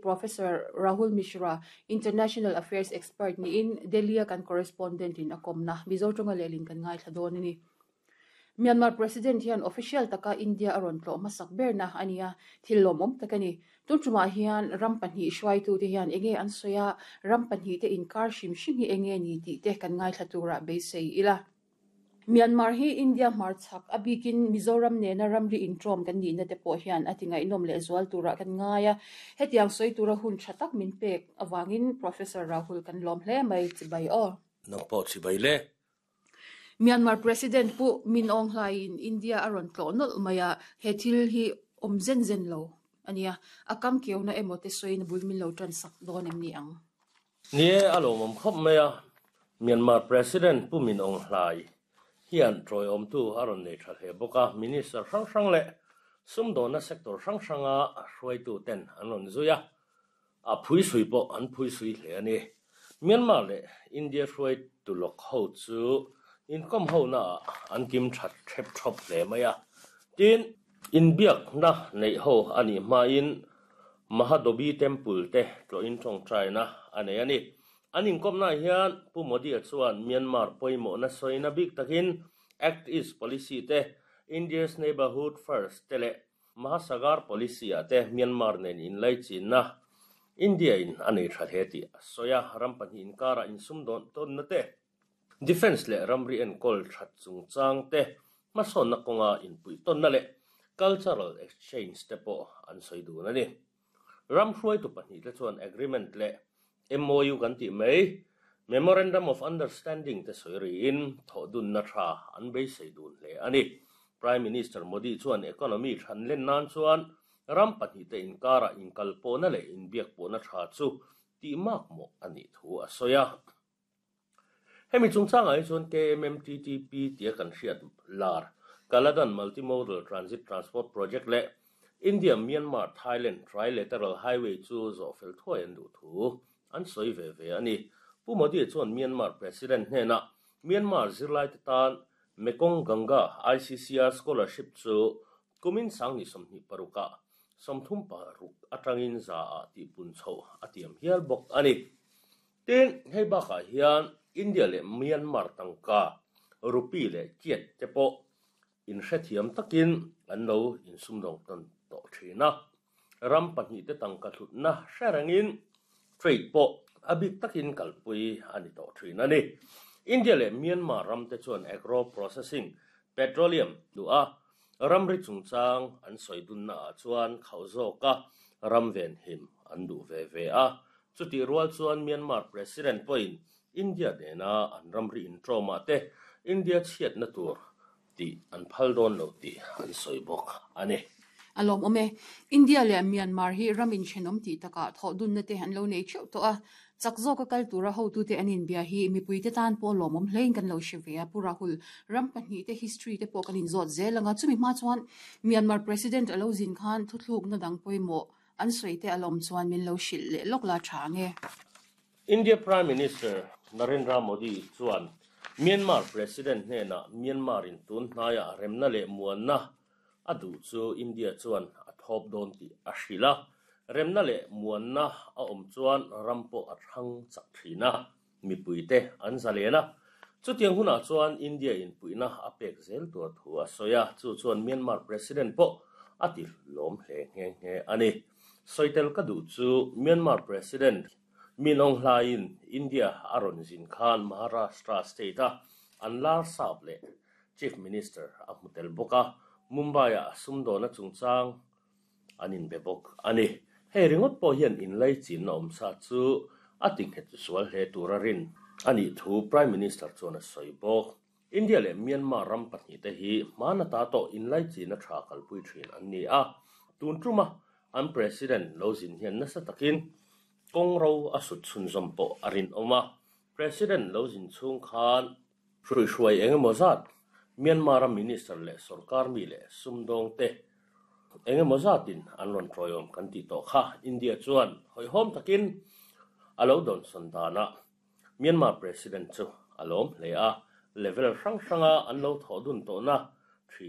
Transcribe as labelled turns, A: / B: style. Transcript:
A: Professor Rahul Mishra, International Affairs Expert niin Delhi-a kan correspondent in a kawmna Mizo tawnga lehlin kan ngaithla dawn a ni. Myanmar President hian official taka India a rawn tlawh hmasak berna a ni a, thil lawmawm tak a ni. Tun tumah hian ram pahnih hruaitute hian enge an sawi a, ram pahnihte inkar hrim hrim hi enge ni tih te kan ngaithla turah beisei ila. Myanmar hi India hmarchhak, a bikin Mizoram nena ramri intawm kan nihna te pawh hian a ti ngaihnawm leh zual turah kan ngai a. Hetiang sawi tura hun tha tak min pek avangin Professor Rahul kan lawm hle mai, chibai aw.
B: Nang pawh chibai le.
A: Myanmar President Pu Min Aung Hlaing India a rawn tlawh nawlh mai a, he thil hi awm zen zen lo a nia. A kam keuna emaw te sawiin a bul min lo tan sak dawn em ni ang?
B: Ni e, a lawmawm khawp mai a. Myanmar President Pu Min Aung Hlai hian tawiawmtu a rawn nei tha hle bawk a, Minister hrang hrang leh sumdawnna sector hrang hranga hruaituten an rawn zui a, a phuisui pawh an phuisui hle a ni. Myanmar leh India hruaitu lawk ho chu inkawm honaah an kim that hrep thawp hle mai a, tin, Inbiakna neih ho a nih hmain Mahadobi Temple te tlawhin tawngtaina a nei a ni. An inkawmnaah hian Pu Modi-a chuan Myanmar pawimawhna sawina bik takin Act East Policy te, India's Neighbourhood First te leh Mahasagar Policy-ah te Myanmar nen inlaichinna India-in a nei tha hle tih a sawi a. Ram pahnih inkarah insumdawn tawnna te, Defence leh ramri enkawl that chungchang te, hmasawnna kawnga inpuihtawnna leh cultural exchange te pawh an sawi dun a ni. Ram hruaitu pahnih te chuan agreement leh MOU kan tih mai, Memorandum of Understanding te sawi riin thawhdunna tha an beisei dun hle a ni. Prime Minister Modi chuan economy than len nan chuan ram pahnih te inkarah inkalpawhna leh inbiakpawhna tha chu tih makmawh a nih thu a sawi a. Hemi chungchangah hi chuan KMMTTP tia kan hriat lar Kaladan Multimodal Transit Transport Project leh India-Myanmar-Thailand Trilateral Highway chu zawh fel thuai an duh thu an sawi ve ve a ni. Pu Modi chuan Myanmar President hnenah Myanmar zirlaite tan Mekong Ganga ICCR Scholarship chu kumin sangni 26 ah 36 atangin za ah tihpun chhoh a tiam hial bawk a ni. Tin, hei bakah hian India leh Myanmar tangka, rupee leh kyat te pawh inhrethiam takin an lo insumdawng tawn tawh thin a. Ram pahnihte tangka hlutna hre rengin trade pawh a bik takin kalpui a ni tawh thin a ni. India leh Myanmar ramte chuan agro processing, petroleum duh a, ramri chungchang an sawi dunnaah chuan khauh zawka ram venhim an duh ve ve a. Chutih rual chuan Myanmar President pawhin India nena an ramri intawmah te India chhiatna tur tih an phal dawn lo tih an sawi bawk a ni.
A: A lawmawm e. India leh Myanmar hi ram inthenawm tih takah thawhdunna te an lo nei theuh tawh a. Chak zawka kal tura hotute an inbia hi mipuite tan pawh lawmawm hlein kan lo hre ve a. Pu Rahul, ram pahnihte history te pawh kan inzawt zel ang a. Chumi hma chuan Myanmar President a lo zin khan thuthlukna dang pawimawh An sawi te a lawm chuan min lo hrilh leh lawk la tha ang e.
B: India Prime Minister Narendra Modi chuan Myanmar President hnenah Myanmar in tun hnaiah remna leh muanna a duh chu India chuan a thawp dawn tih a hrilh a, remna leh muanna a awm chuan ram pawh a thlang chak thin a. Mipuite an zalen a, chutiang hunah chuan India in puihna a pek zel tur thu a sawi a, chu chuan Myanmar President pawh a ti hlawm hle nghe nghe a ni. Sawitel ka duh chu Myanmar President Min Aung Hlaing India a rawn zin khan Maharashtra state a an lar sap leh Chief Minister a hmu tel bawk a, Mumbai-ah sumdawna chungchang an inbe bawk a ni. Hei ringawt pawh hian inlaichinna awm sa chu a tinghet sual hle tura rin a nih thu Prime Minister chuan a sawi bawk. India leh Myanmar ram pahnihte hi hmana ta tawh inlaichina tha kalpui thin an ni a, tun tuma an President lo zin hian nasa takin kawng ro a sut chhunzawm pawh a rinawm a. President lo zin chhung khan Hruihruai eng emaw zat Myanmar-a minister leh sorkar mi leh sumdawngte eng emaw zatin an rawn tawiawm kan tih tawh kha India chuan hawihhawm takin a lo dawnsawn danah Myanmar President chu a lawm hle a, level hrang hranga an lo thawh dun tawhna thin.